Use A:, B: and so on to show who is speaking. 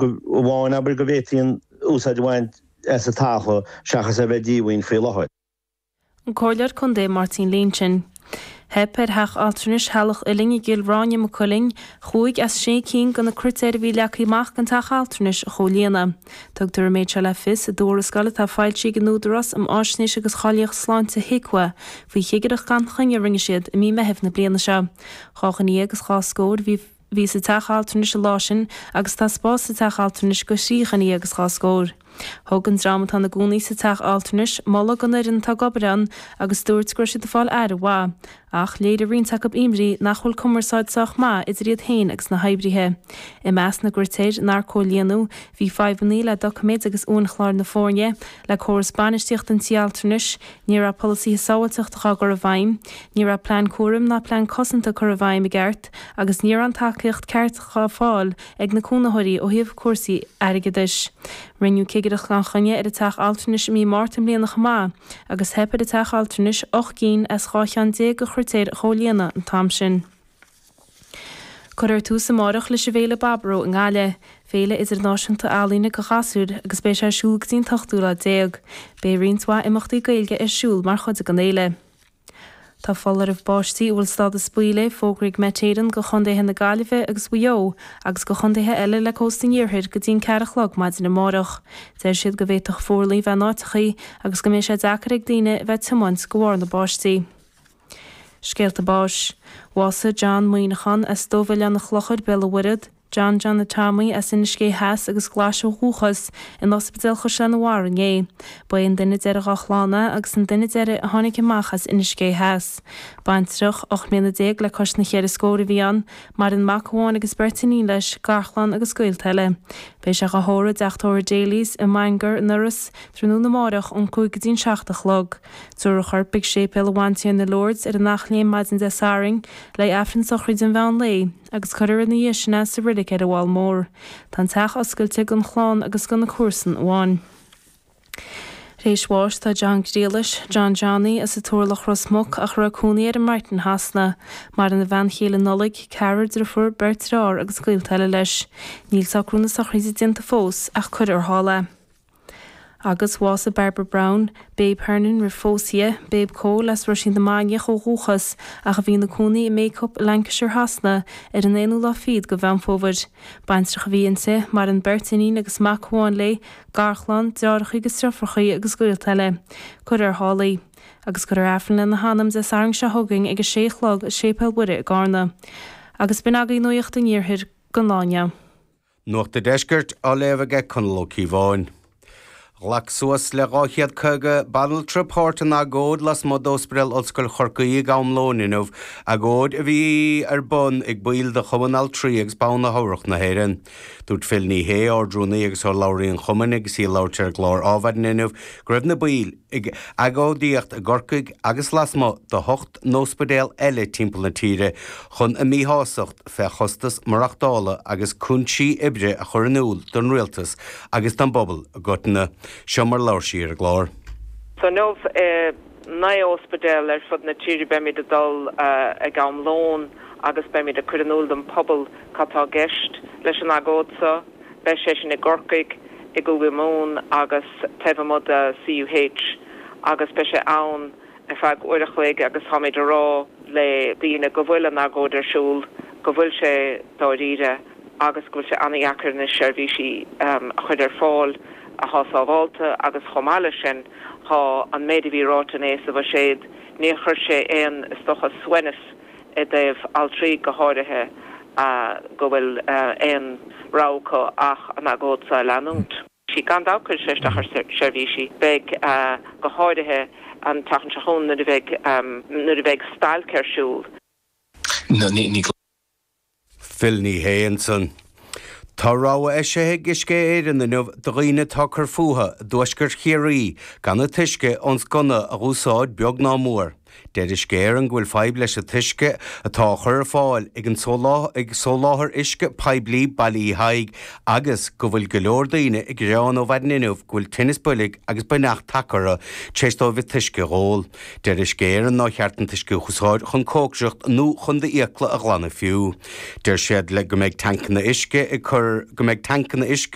A: Amháin, abair, go bhféadfaí an úsáid a bhaint as an talamh seachas é a bheith díomhaoin faoi láthair.
B: An Comhairleoir Contae Máirtín Lynch. Theip ar Theach Altranais Theallach Uilinn i gCill Ráine, Maigh Cuilinn, chúig as sé cinn de na critéir a bhí leagtha amach don teach altranais a chomhlíonadh. Tugtar an méid seo le fios i dtuarascáil atá foilsithe ag an Údarás um Fháisnéis agus Cháilíocht Sláinte, HIQA, faoi chigireacht gan choinne a rinne siad i mí Meithimh na bliana seo. 12 dhuine agus dhá scór a bhí bhí sa teach altranais an lá sin agus tá spás sa teach altranais do thrí dhuine agus dhá scór. Thug an dream atá ina gcónaí sa teach altranais moladh don fhoireann atá ag obair ann agus dúirt go raibh siad ag fáil aire mhaith, ach léirigh roinnt acu imní nach bhfuil cumarsáid sách maith idir iad féin agus na hoibrithe. I measc na gcritéir nár comhlíonadh bhí fadhbanna le doiciméid agus uainchlár na foirne, le córas bainistíochta an tí altranais, Ní raibh polasaithe sábháilteachta á gcur i bhfeidhm, ní raibh plean cúraim ná plean cosanta curtha i bhfeidhm i gceart agus ní raibh an tacaíocht ceart á fáil ag na cónaitheoirí ó thaobh cúrsaí airgeadais. Rinneadh cigireacht gan choinne ar an teach altranais i mí Márta i mbliana chomh maith agus theip ar an teach altranais 8 gcinn as 12 cheann de chritéir a chomhlíonadh an t-am sin. Cuirfear tús amárach leis an bhFéile Baboró i nGaillimh, féile idirnáisiúnta ealaíne do ghasúir agus beidh sé ar siúl go dtí an t-ochtú lá déag. Beidh roinnt mhaith imeachtaí Gaeilge ar siúl mar chuid den fhéile. Tá foláireamh báistí a bhfuil stádas buí léi fógraithe ag Met Éireann do chontaetha na Gaillimhe agus Mhaigh Eo agus do chontaetha eile le cósta an iarthair go dtí an ceathair a chlog maidin amárach. Deir siad go bhféadfadh fuarlaigh bheith in áiteachaí agus go mbeidh sé deacair ag daoine a bheith ag tiomáint de bharr na báistí. Scéalta báis. Bhásaigh John Muíneachán as Dumha Oileán an Chlochair, Béal an Mhuirthead, John John Tommy as Inis Gé Theas agus Glais ó dhúchas, in Ospidéal Chaisleán an Bharraigh inné. Ba é an duine deiridh dá chlann é agus an duine deiridh a tháinig amach as Inis Gé Theas. Baintreach, 18 mbliana le cois na cheithre scór a bhí ann. Maireann mac amháin agus beirt iníon leis, garchlann agus gaolta eile. Beidh sé dhá thórramh i dteach tórraimh Daly's i mBangor, in Iorras, tráthnóna amárach ón 5 go dtí an 7 a chlog. Tabharfar a chorp ag Séipéal an Bhantiarna Lourdes ar an Eachléim maidin Dé Sathairn le Aifreann sochraide an mheán lae agus cuirfear ina dhiaidh sin é sa reilig ar an bhFál Mór. Tá an teach oscailte don chlann agus do na comharsain amháin. Tar éis bháis tá John Ghriallais, John Johnny, as an Turlach Ros Muc ach a raibh cónaí air i mBrighton Shasana. Maireann a bhean chéile Nollaig, ceathrar driofúr, beirt dearthár agus gaolta eile leis. Níl socrú na sochraide déanta fós ach cuirfear thall é. Agus bhásaigh Barbara Brown, Babe Hernon roimh phósadh di, Babe Cole as Ruisín na Mainiach ó dhúchas ach a bhí ina cónaí i mBacup i Lancashire Shasana ar an aonú lá fichead de Mheán Fómhair. Baintreach a bhí inti, maireann beirt iníon agus mac amháin léi, garchlann, deartháireacha agus deirfiúracha agus gaolta eile. Cuirfear thall í. Agus cuirfear Aifreann lena hanam Dé Sathairn seo chugainn ag a sé a chlog i Séipéal Mhuire i gCarna. Agus b'in agaibh Nuacht an Iarthair don lá inniu.
C: Nuacht an Deiscirt á léamh aige Conall Ó Cíobháin. Ghlac suas le 250 banaltra páirt in agóid lasmuigh d'Ospidéal Ollscoil Chorcaí ag am lóin inniu, agóid a bhí ar bun ag baill de Chumann Altraí agus Ban Chabhrach na hÉireann. Dúirt Phil Ní Sheaghdha, Ard-Rúnaí agus urlabhraí an chumainn agus í ag labhairt ar an gclár Adhmhaidin inniu, go raibh na baill ag agóidíocht i gCorcaigh agus lasmuigh de hocht n-ospidéal eile timpeall na tíre chun a míshástacht fé chostas maireachtála agus cúinsí oibre a chur in iúl don rialtas agus don bpobal i gcoitinne. Seo mar labhair sí ar an gclár.
D: So inniu i naoi ospidéal ar fud na tíre beimid ag dul ag am lóin agus beimid ag cur in iúl don phobal cad tá i gceist leis an agóid seo. Beidh sé sin i gCorcaigh, i gCúige Mumhan agus taobh amuigh de CUH agus beidh sé ann ar feadh uair a chloig agus táimid a rá le daoine go bhfuil an agóid ar siúl, go bhfuil sé dáiríre agus go bhfuil sé an-dheacair anois seirbhísí a chur ar fáil athá sábhálta agus chomh maith leis sin thá an méid a bhí ráite inné sa bhuiséad, níor chuir sé aon, is dócha, suaimhneas i dtaobh altraí go háirithe go bhfuil aon rogha acu ach an agóid seo a leanúint. Gan dabht cuirfidh sé isteach ar seirbhísí. Beidh, go háirithe an tseachtain seo chugainn nuair a bheidh, nuair a bheidh stailc ar siúl.
C: Phil Ní Sheaghdha ansan. Tá rabhadh eisithe ag Uisce Éireann inniu do dhaoine atá ag cur fúthu i dtuaisceart Chiarraí gan an t-uisce ón sconna a dh'úsáid beag ná mór. Deir Uisce Éireann go bhfuil fadhb leis an t-uisce atá á chur ar fáil ag an ag Soláthar Uisce Poiblí Baile Uí Thaidhg agus go bhfuil go leor daoine ag gearán ó mhaidin inniu go bhfuil tinneas boilg agus buinneach tagtha orthu tar éis dóibh an t-uisce a dh'ól. Deir Uisce Éireann nár cheart an t-uisce a úsáid chun cócaireacht nó chun d'fhiacla a ghlanadh fiú. Deir siad le go mbeidh tancanna uisce ag cur go mbeidh tancanna uisce.